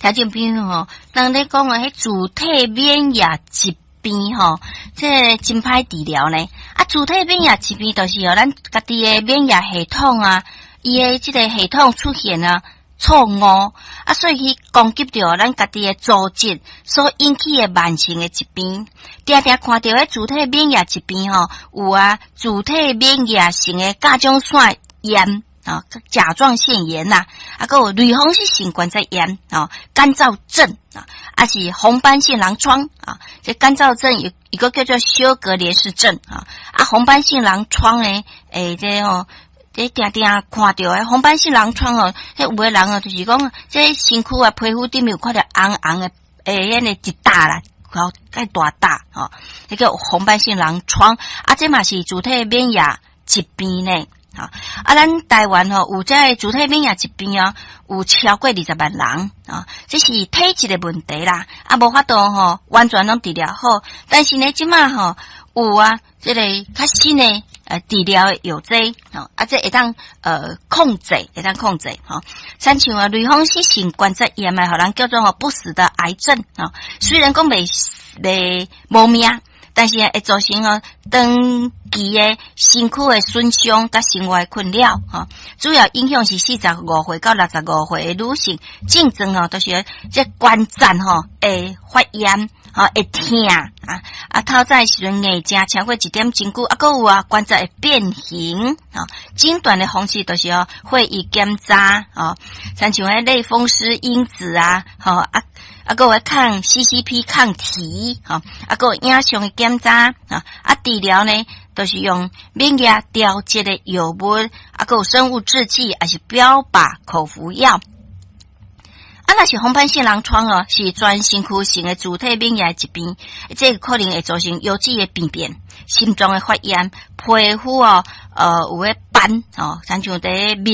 聽眾朋友吼，當咧講的彼自體免疫疾病吼，這真歹治療呢。啊，自體免疫疾病就是予咱家己的免疫系統啊，伊的這個系統出現啊錯誤，啊，所以去攻擊著咱家己的組織所引起的慢性的疾病。定定看著彼自體免疫疾病吼，有啊，自體免疫性的甲狀腺炎啊，甲狀腺炎呐，啊，閣有類風濕性關節炎啊，乾燥症啊，抑是紅斑性狼瘡啊。這乾燥症有一個叫做休格蓮氏症啊，啊，紅斑性狼瘡呢，欸，這吼，這定定看著的紅斑性狼瘡哦，彼有的人哦，就是講這身軀啊，皮膚頂面有看著紅紅的，欸，彼个一笪啦，吼，較大笪吼，彼個紅斑性狼瘡，啊，這嘛是自體免疫疾病呢。啊，咱台灣吼有這个自體免疫疾病哦，有超過20萬人啊，這是體質的問題啦，啊，無法度吼完全攏治療好，但是呢，這馬吼有啊，這个較新的治療的藥劑，吼，啊，這會當控制，會當控制吼。親像啊，類風濕性關節炎啊，予人叫做吼不死的癌症啊，雖然講袂袂無命，但是會造成吼長期的身軀的損傷佮生活的困擾吼。主要影響是45歲到65歲的女性，症狀吼都是這關節吼會發炎，吼會疼啊啊，透早時陣硬正超過一點鐘久，啊，閣有啊關節會變形啊。診斷的方式就是哦血液檢查哦，親像彼類風濕因子啊，吼啊。啊，閣有抗 CCP 抗體，吼，啊，閣有影像的檢查，啊，啊，治療呢，都是用免疫調節的藥物，啊，閣有生物製劑，抑是標靶口服藥。啊，若是紅斑性狼瘡哦，是全身軀性的自體免疫疾病，這個可能會造成腰子的病變、心臟的發炎、皮膚哦，有彼斑哦，親像佇面。